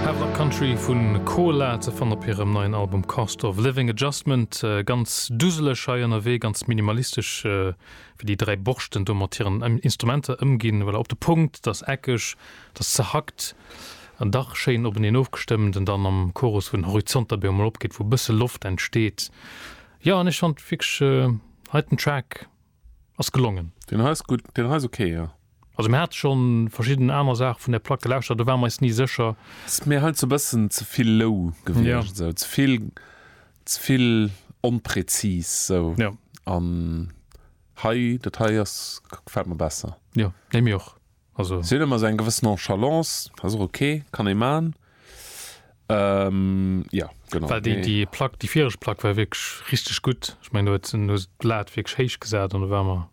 Havelock Country vu Cola ze fannen op hirem neien Album Cost of Living Adjustment. Ganz duseleg hei ënnerwee, ganz minimalistesch wéi déi 3 Borschten do mat hiren Instrumenter ëmginn. Voilà, op de Punkt, et ass eckeg, et ass zerhackt an dach schéin openeen ofgestëmmt an dann am Chorus wou den Horizont da bemol opgeet, wou e bësse Loft entsteet. Jo, an ech fand wierklech heiten Track ass gelongen. Deen hei ass gutt, deen hei ass ok, jo. Also mir hate schonn verschidden aner Saache vun där Plack gelauschtert, do ware mer eis ni sécher. Ass mir halt sou bëssen ze vill low gewiescht, sou ze vill, ze vill onpräzis sou. Jo. An hei, dat hei ass, gefält mer besser. Jo, nee mir och. Also. Si hunn ëmmer sou eng gewëss Nonchalance, ass och ok, kann ee man. Ähm, ja, genau. Well déi, déi Plack, déi viregt Plack war wierklech richteg gutt. Ech mengen, do huet se, hu se d'Lat wierklech héich gesat an do ware mer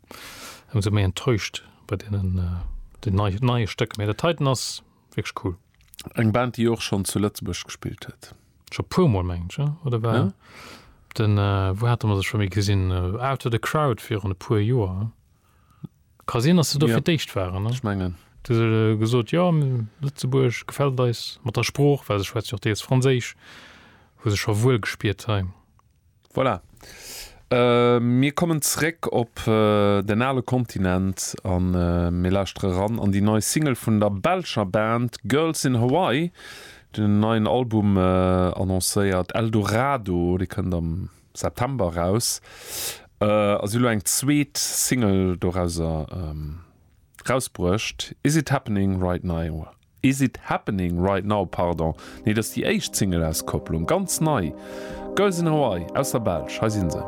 ëmsou méi enttäuscht bei deenen, den nei, neie Stécker. Mee dat heiten ass wierklech cool. Eng Band, déi och schonn zu Lëtzebuerg gespillt huet. Scho puer mol, mengen ech, oder war ja? den, wou hate mer se scho méi gesinn? Out of the Crowd virun e puer Joer. Ka sinn, dass se do fir d'éischt waren. Ech mengen. Du se gesot, jo, Lëtzebuerg gefält eis mat der Sprooch, well se schwätzt jo och deels Franséisch, hu sech scho wuel gespiert hei. Voilà. Mir kommen zeréck op den ale Kontinent a mir lauschtere ran an déi nei Single vun der belscher Band Girls in Hawaii, déi hunn en neien Album annoncéiert, Eldorado, dee kënnt am September eraus a si hu lo eng zweet Single dorauser rausbruecht, Is It Happening Right Now, Is It Happening Right Now, pardon, nee, dat ass déi éischt Single-Auskopplung, ganz nei, Girls in Hawaii aus der Belsch, hei si se.